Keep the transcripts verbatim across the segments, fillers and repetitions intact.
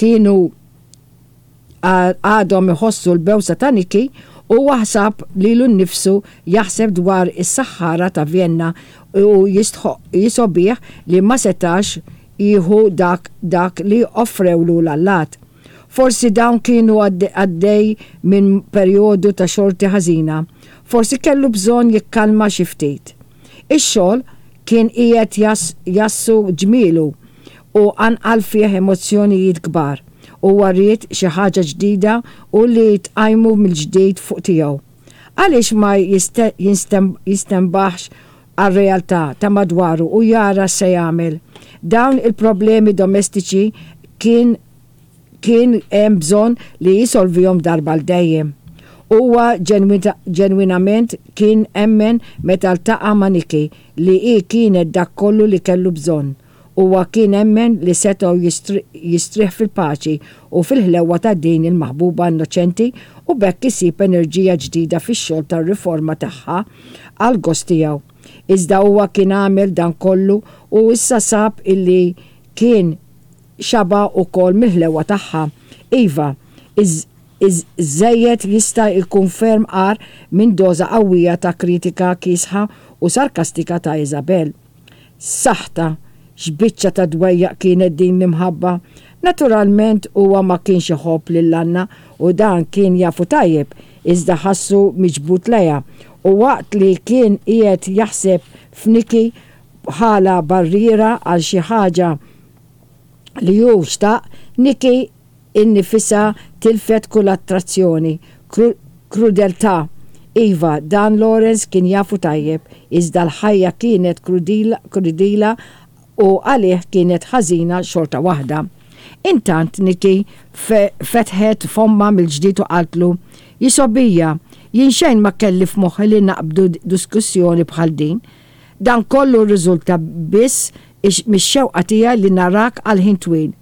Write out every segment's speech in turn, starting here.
Kienu għadhom iħossu l-bewsa ta' Nikki u ħaseb lilu nnifsu jaħseb dwar is-saħħara ta' Vienna u jisgħobbih li ma setax jieħu dak dak li offrewlu l-allat. Forsi dawn kienu għaddej minn perjodu ta' xorti ħażina. Forsi kellu bżonn jikkalma xi ftit. Ix-xogħol kien qiegħed jassu ġmielu u qanqal fih emozzjonijiet kbar. Huwa ried xi ħaġa ġdida u li tqajmu mill-ġdid fuq tiegħu. Għaliex ma jistenbaħx għar-realtà ta' madwaru u jara se jagħmel. Dawn il-problemi domestiċi kien kien hemm bżonn li jisolvihom darba għal dejjem. Huwa ġenwinament kien emmen meta ltaqa' ma' Nikki li hi kienet dak kollu li kellu bżonn. Huwa kien emmen li setgħu jistrieħ fil-paċi u fil-ħlewa ta' din il-maħbuba innoċenti u b'hekk isib enerġija ġdida fix-xogħol tar-riforma tagħha għal gost tiegħu. Iżda huwa kien għamel dan kollu u issa sab illi kien xaba' ukoll mill-ħlewa tagħha. Iva, iż-żejjed jista' jkun ferm agħar minn doża qawwija ta' kritika kiesħa u sarkastika ta' Isabel. Saħta, x'biċċa ta' dwejjaq kienet din l-imħabba. Naturalment huwa ma kienx iħobb lil Anna u dan kien jafu tajjeb, iżda ħassu miġbud lejha u waqt li kien qiegħed jaħseb f'Nikki bħala barriera għal xi ħaġa li hu xtaq, Nikki innifisha tilfet kull attrazzjoni, krudeltà. Iva, dan Lawrence kien jafu tajjeb, iżda l-ħajja kienet krudila u għalih kienet ħażina xorta waħda. Intant Nikki fetħet fommha mill-ġdid u qaltlu, "Jisgħobbija, jien xejn ma kelli f'moħħi li naqbdu diskussjoni bħal din. Dan kollu rriżulta biss mix-xewqa tiegħi li narak għal ħin twil."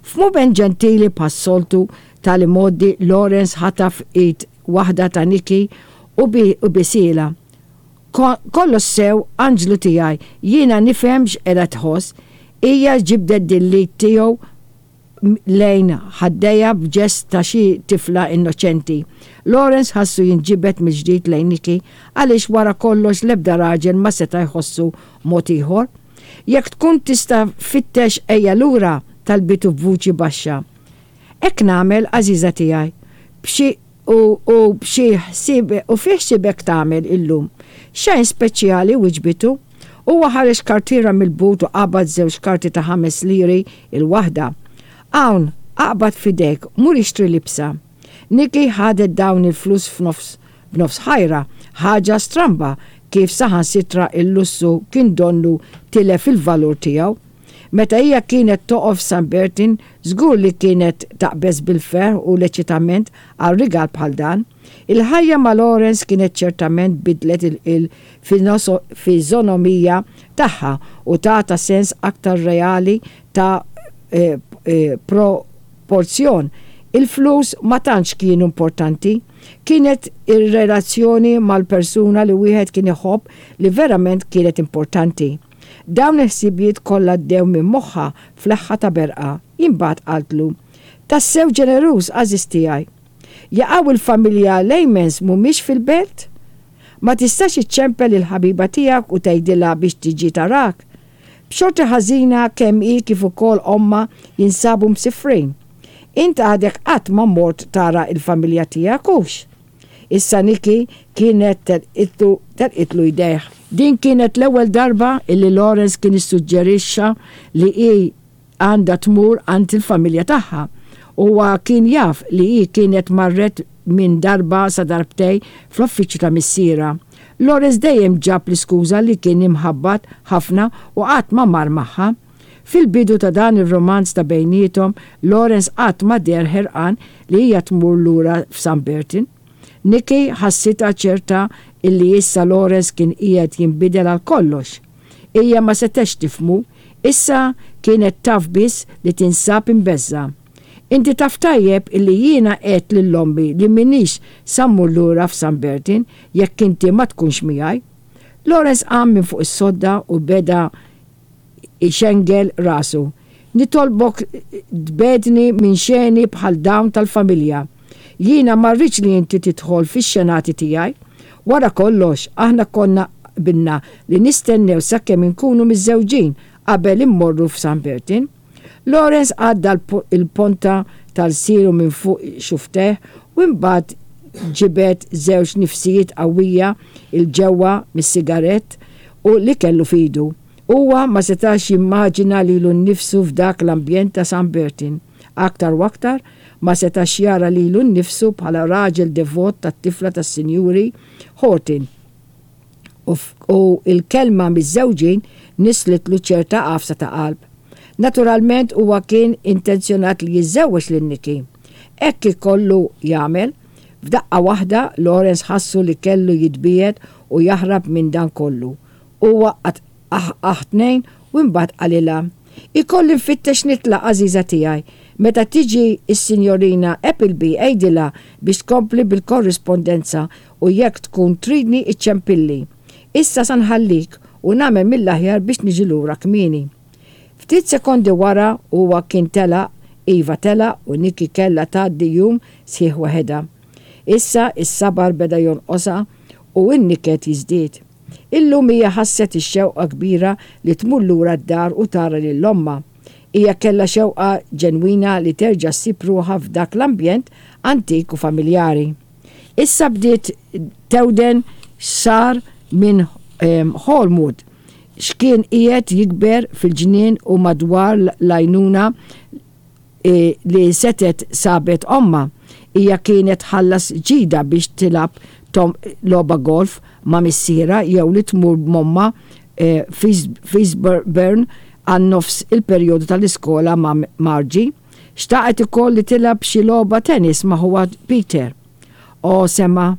F'mument ġentili bħas-soltu tal-modi Lawrence ħataf id waħda ta' Nikki u basielha. "Kollox sew, anġlu tiegħi, jiena nifhem x'qiegħda tħoss." Hija ġibdet din l-id tiegħu lejn ħaddejha b'ġest ta' xi tifla innoċenti. Lawrence ħassu jinġibed mill-ġdid lejn Nikki għaliex wara kollox l-ebda raġel ma seta' jħossu mod ieħor. "Jekk tkun tista' fittex ejja lura," talbitu b'vuċi baxxa. "Hekk nagħmel, għażiża tiegħi. B'xi u u b'xi ħsieb u fi ħsiebek tagħmel illum?" "Xejn speċjali," wiġbitu. Huwa ħareġ kartiera mill-but u qabad żewġ karti ta' ħames liri il-waħda. "Hawn, aqbad f'idejk, mur ixtri libsa." Nikki ħadet dawn il-flus f'nofs b'nofs ħajra, ħaġa stramba kif saħansitra il-lussu kien donnu tilef il-valur tiegħu. Meta hija kienet toqgħod f'San Bertin, żgur li kienet taqbeż bil-ferħ u l-eċitament għal rigal bħal dan. Il-ħajja ma' Lawrence kienet ċertament bidlet il-fiżonomija tagħha u tata sens aktar reali ta' eh, eh, proporzjon. Il-flus ma tantx kienu importanti, kienet ir-relazzjoni mal-persuna li wieħed kien iħobb li verament kienet importanti. Dawn il-ħsibijiet kollha għaddew minn moħħha f'leħħa ta' berqa. Imbagħad qaltlu, "Tassew ġeneruż, għażiż tiegħi. Jaqaw il-familja Lejmens mhumiex fil-belt? Ma tistax iċċempel il-ħabiba tiegħek u tgħidilha biex tiġi tarak? B'xorti ħażina kemm hi kif ukoll ommha jinsabu msifrin. Int għadek qatt ma mort tara il-familja tiegħek hux?" Issa Nikki kienet telqitlu jdejh. Din kienet l-ewwel darba illi Lawrence kien issuġġerixxa li hi għandha tmur għand il-familja tagħha. Huwa kien jaf li hi kienet marret minn darba sa darbtej fl-uffiċċju ta' missierha. Lawrence dejjem ġab l-iskuża li kien imħabbat ħafna u qatt ma mar magħha. Fil-bidu ta' dan ir-romanz ta' bejniethom, Lawrence qatt ma deher ħerqan li hija tmur lura f'San Bertin. Nikki ħassitha ċerta illi issa Lawrence kien qiegħed jinbidel għal kollox. Hija ma setgħetx tifhmu, issa kienet taf biss li tinsab imbeżża'. "Inti taf tajjeb illi jiena għedt lil ommi li m'iniex sa mmur lura f'San Bertin jekk inti ma tkunx miegħi." Lawrence qam minn fuq is-sodda u beda ixengel rasu. Nitolbok tbegħedni minn xeni bħal dawn tal-familja. Jiena ma rridx li inti tidħol fix-xenati tiegħi. Wara kollox, aħna konna qbilna li nistennew sakemm inkunu miżżewġin qabel immorru f'San Bertin. Lawrence għadda l-ponta tal-siru minn fuq xufftejh u imbagħad ġibed żewġ nifsijiet qawwija 'l ġewwa mis-sigarett u li kellu f'idu. Huwa ma setax jimmaġina lilu nnifsu f'dak l-ambjent ta' San Bertin. Aktar u aktar ma setax jara lilu nnifsu bħala raġel devot tat-tifla tas-Sinjuri Horton. U l-kelma miżżewġin nislitlu ċerta għafsa ta' qalb. Naturalment huwa kien intenzjonat li jiżżewweġ lil Nikki. Hekk ikollu jagħmel. F'daqqa waħda Lawrence ħassu li kellu jitbiegħed u jaħrab minn dan kollu. Huwa qagħad aħ tnejn u imbagħad qalilha, Ikolli nfittex nitlaq għażiża tiegħi. Meta tiġi s-Sinjorina Appleby għidilha biex tkompli bil-korrispondenza u jekk tkun tridni iċċempilli. Issa sa nħallik u nagħmel mill-aħjar biex niġi lura kmieni. Ftit sekondi wara huwa kien telaq, iva telaq u Nikki kellha tgħaddi jum sħiħ waħedha. Issa s-sabar beda jonqosha u n-niket jiżdied. Illum hija ħasset ix-xewqa kbira li tmur lura d-dar u tara lil ommha. Hija kellha xewqa ġenwina li terġa' ssib ruħha f'dak l-ambjent antik u familjari. Issa bdiet tewden x'sar minn Holmwood, x'kien qiegħed jikber fil-ġnien u madwar l-għajnuna li setgħet sabet ommha. Hija kienet tħallas ġidha biex tilgħab logħba golf ma' missierha jew li tmur m'ommha f'Eastbourne għal nofs il-perjodu tal-iskola ma' Margie. Xtaqet ukoll li tilgħab xi logħba tennis ma' ħuha Peter. O sema,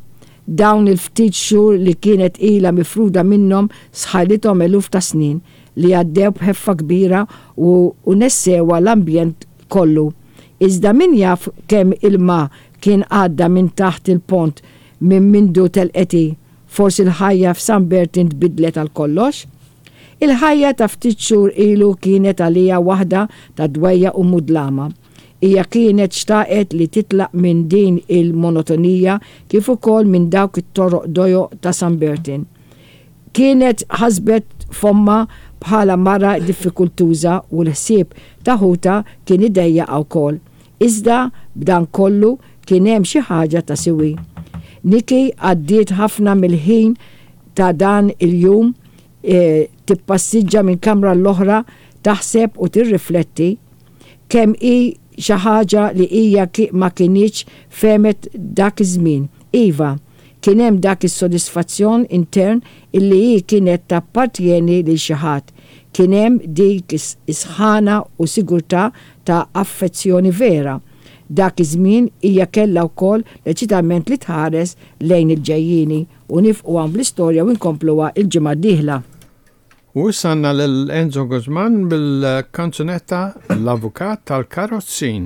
dawn il-ftit xhur li kienet ilha mifruda minnhom sħajlithom eluf ta' snin li għaddew b'ħeffa kbira u nessewha l-ambjent kollu. Iżda min jaf kemm ilma kien għadda minn taħt il-pont minn mindu telqet hi, forsi l-ħajja f'San Bertin tbiddlet għal kollox? Il-ħajja ta' ftit xhur ilu kienet għaliha waħda ta' dwejjaq u mudlama. Hija kienet xtaqet li titlaq minn din il-monotonija kif ukoll minn dawk it-toroq dojoq ta' San Bertin. Kienet ħasbet f'ommha bħala mara diffikultuża u l-ħsieb ta' ħutha kien idejjaqha wkoll. Iżda b'dan kollu kien hemm xi ħaġa ta' siwi. Nikki għaddiet ħafna mill-ħin ta' dan il-jum tippassiġġa minn kamra għall-oħra taħseb u tirrifletti kemm hi xi ħaġa li hija ma kinitx fehmet dak iż-żmien. Iva, kien hemm dak is-sodisfazzjon intern illi hi kienet tappartjeni lil xi ħadd. Kien hemm dik is-sħana u sigurtà ta' affezzjoni vera. Dak iż-żmien hija kellha wkoll l-eċitament li tħares lejn il-ġejjieni. U nifqu hawn bl-istorja u nkompluha l-ġimgħa d-dieħla. U issa għandna lil Enzo Guzman bil-kanzunetta L-Avukat tal-Karozzin.